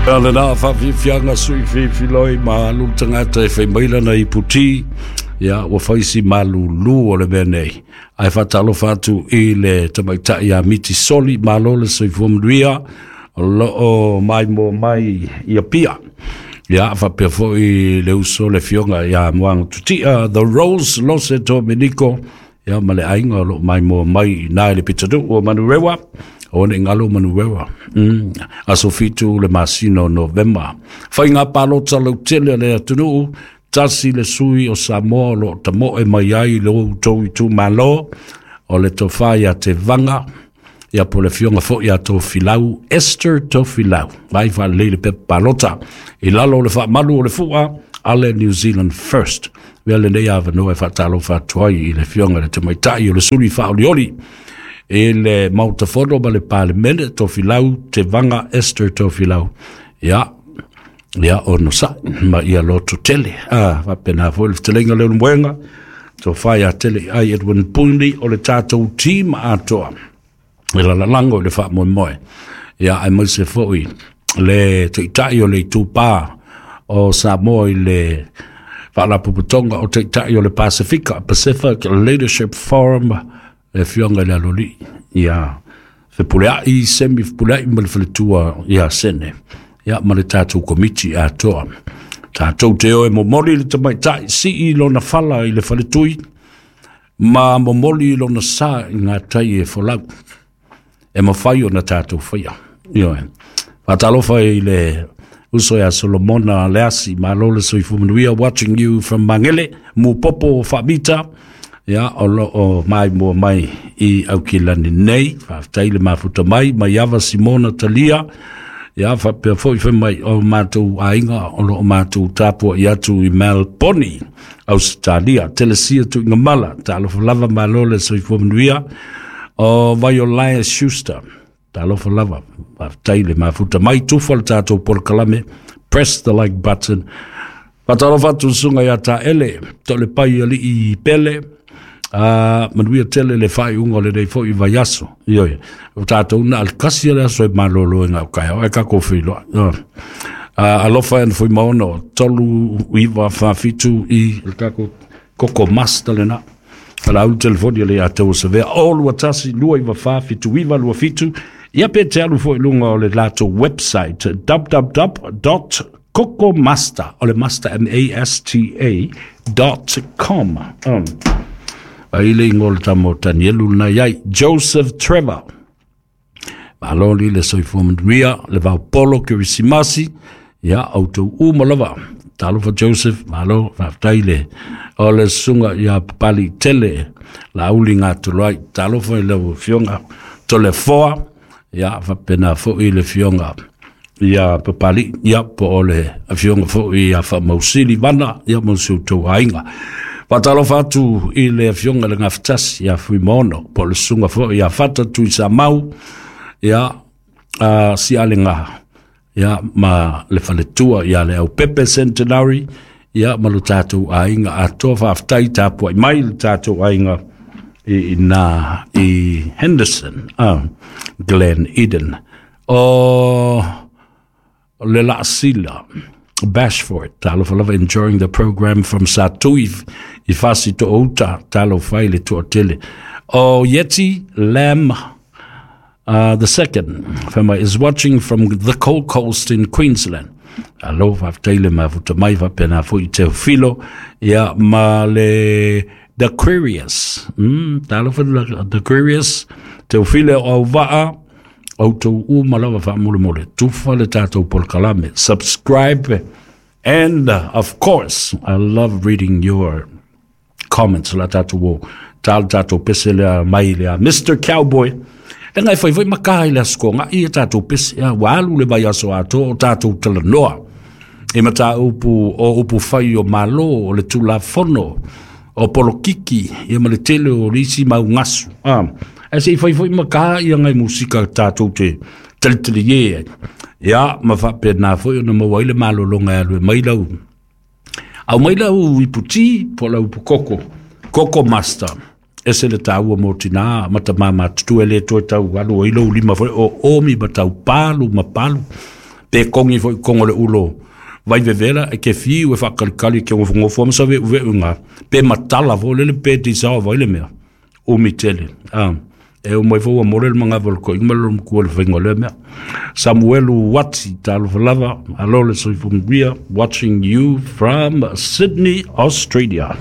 A lena faafiafiaga sui filifiloi ma alu le tagata e fai mai lana iputi, ia ua fai si malulu o le mea nei. Ae faatalofa atu i le tamaitai ia Miti Soli, malo le soifua manuia, o loo maimoa mai i Apia. Ia faapea foi le uso le afioga ia Moana Tutia, The Rose Lose Dominico, ia ma le aiga o loo maimoa mai i na i le pitonuu o Manurewa, o ne ngalo Manurewa. Aso 7 le masina o Novema. Faiga palota lautele a le atunuu, tasi le sui o Samoa o loo tamoe mai ai i lo outou itumalo, o le tofa ia Tevaga, ia po le afioga foi ia Tofilau, Esther Tofilau, mai faalelei le pepa palota i lalo o le faamalu o le fua a le New Zealand First. Mea lenei avanoa e faatalofa atu ai i le afioga i le tamaitai o le suli faaolioli i le Maota Fono ma le Palemene, Tofilau Tevaga Esther Tofilau. Ia, ia ono sa'i ma ia loto tele. Faapena foi le fetalaiga leo Lemuega, tofa ia tele ai Edwin Puni o le tatou team atoa e lalalago i le faamoemoe. Ia, aemaise foi le taitai o le itupa o Samoa i le Faalapotopotoga o Taitai o le Pasifika, Pacific Leadership Forum, le afioga i le Aloalii ia Fepuleai, Semi Fepuleai ma le faletua ia Sene, ia ma le tatou komiti atoa. Tatou te o e momoli le tamaitai sii lona fala i le faletui ma momoli lona sa i ngā tai e folau e mafai ona tatou faia. Ioe. Faatalofa i le uso ia Solomona Leasi, malo le soifua manuia, watching you from Mangele, Mupopo Faamita, ia o loo maimoa mai i Aukilani nei, faafetai le mafuta mai, Maiava Simona Talia, ia faapea foi fai mai o matou aiga o loo matou tapuai atu i Melbourne, Ausetalia, Telesia Tuigamala, talofa lava, malo le soifua manuia, o Vaiolae Schuster, talofa lava, faafetai le mafuta mai, tufa le tatou polokalame, press the like button. Faatalofa atu le susuga ia Taele, to le pai alii pele, manuia tele le faaiuga o lenei foi vaiaso. Ioe, o tatou na al kasi le aso e malolo e ngau kai, o e kako whiloa. Alofa e na maono, 3 9 4 7 i le kako koko master le na. Ala au telefoni le ia tau savea, o lua tasi, 2 9 4 7 9 2 7. Ia pe te alu foi lunga o le latou website, www.cocomaster, o le master masta.com. Ai le ingoa o le tama o Danielu na iai, Joseph Trevor. Malo li le soifua manuia, le vaopolo Kerisimasi, ia outou uma lava. Talofa Joseph, malo, faafetai le o le susuga ia Papali Tele, Lauli Gatoloai, talofa i lau afioga Tolefoa, ia faapena foi le afioga ia Papali, ia po o le afioga foi ia Faamausili Vana, ia mo si outou aiga. Faatalofa atu i le afioga le Gafatasi ia Fuimaono, po o le susuga foi ia Fata Tuisamau, ia Sialega, ia ma le faletua ia le Aupepe Centenary, ia ma lo tatou aiga atoa. Faafetai tapuai mai le tatou aiga i na i Henderson, Glen Eden. O le Laasila Bashford, talofa lava, enjoying the program from Satui i Fasi to Outa, talofa i le tuatele. O Yeti Lam the second family is watching from the Gold Coast in Queensland. Alo, faafetai le mafuta mai, faapena foi i Teofilo, ia ma le The Aquarius. Talofa The Aquarius, Teofilo o Auvaa, outou uma lava faamolemole, tufa le tatou polokalame, subscribe, and of course, I love reading your comments. La tatou o tal tatou pese lea mai lea Mr. Cowboy. Le ngai fai foi maka i le aso nga i tatou pese ia ua alu le vai aso ato o tatou talanoa e mata upu o upu fai o malo o le tulafono o polokiki ia ma le tele o lisi mau ngasu. E se i fai foi maka ia ngai musika tatou te talitali e. Ia ma faapena foi ona maua ai le malologa e alu e mai lau. Au mai lau iputi po lau ipu koko, koko master. Ese le tāua mō tina mata mama tutu e le toe tau alu ai lou lima foi o omi ma tau palu ma palu. Pe kongi foi kongo le ulo vai vevela e ke fiu e whakalikali ke ngofo ma sa ve'u ngā pe matala fo lele pe te sawa vai le mea umi tele. E o mai fo ua more le mangawa le ko inga lo mkua le whainga le mea. Samuelu Wati, talofa lava, alo le soifua manuia, watching you from Sydney, Australia.